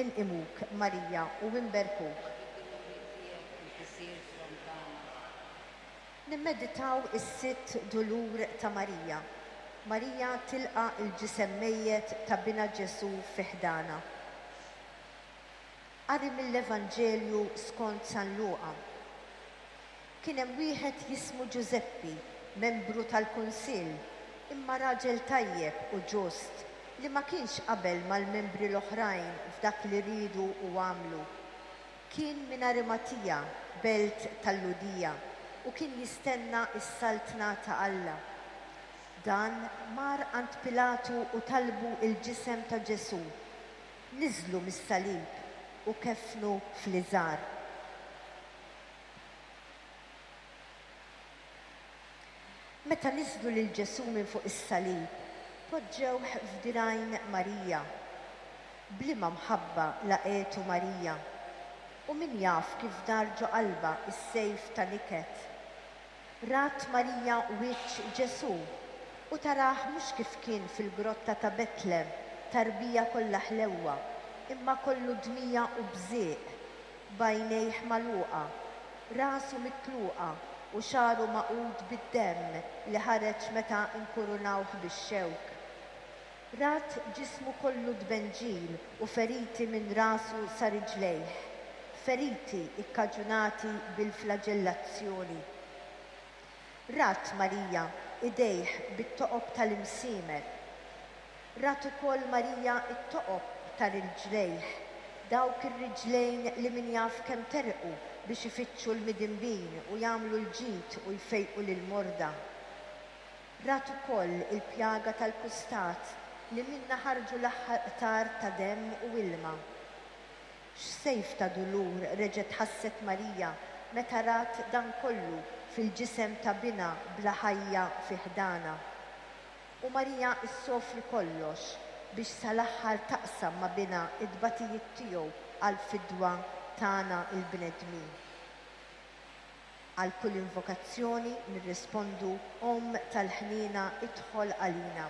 Inqimuk, Marija, u inberkuk. Għax bid-duluri tiegħek inti sirt l-Omm tagħna. Nimmeditaw is-sitt dulur ta' Marija. Marija tilqa' l-ġisem mejjet ta' binha Ġesù fi ħdanha. Qari mill-Evanġelju skont San Luqa. Kien hemm wieħed jismu Ġużeppi, membru tal-kunsill, imma raġel tajjeb u ġust, li ma kienx qabel mal-membri l-oħrajn f'dak li riedu u għamlu. Kien minn Arimatija, belt tal-Lhudija, u kien jistenna s-Saltna ta' Alla. Dan mar għand Pilatu u talbu l-ġisem ta' Ġesù. Niżlu mis-salib u keffnu fl-iżgħar. Meta niżlu lil Ġesù minn fuq is-salib, poġġewh f'dirgħajn Marija. B'liema mħabba laqgħetu Marija! U min jaf kif dar ġo qalbha s-sejf ta' niket! Rat Marija wiċċ Ġesù, u tarah mhux kif kien fil-grotta ta' Betlem, tarbija kollha ħlewwa, imma kollu dmija u bżieq, b'għajnejh magħluqa, rasu mitluqa u xagħru magħqud bid-demm li ħareġ meta nkurunawh bix-xewk. Rat ġismu kollu tbenġil u feriti minn rasu sa riġlejh, feriti kkaġunati bil-flaġellazzjoni. Rat Marija idejh bit-toqob tal-imsiemer. Rat ukoll Marija t-toqob ta' riġlejh, dawk ir-riġlejn li min jaf kemm terqu biex ifittxu l-midinbin u jagħmlu l-ġid u jfejqu lill-morda. Rat ukoll il-pjaga tal-kustat li minnha ħarġu l-aħħar qtar ta' demm u ilma. X'sejf ta' dulur reġgħet ħasset Marija meta rat dan kollu fil-ġisem ta' binha bla ħajja fi ħdanha! U Marija ssofri kollox biex sal-aħħar taqsam ma' Binha t-tbatijiet tiegħu għall-fidwa tagħna l-bnedmin. Għal kull invokazzjoni nirrispondu, Omm tal-ħniena idħol għalina.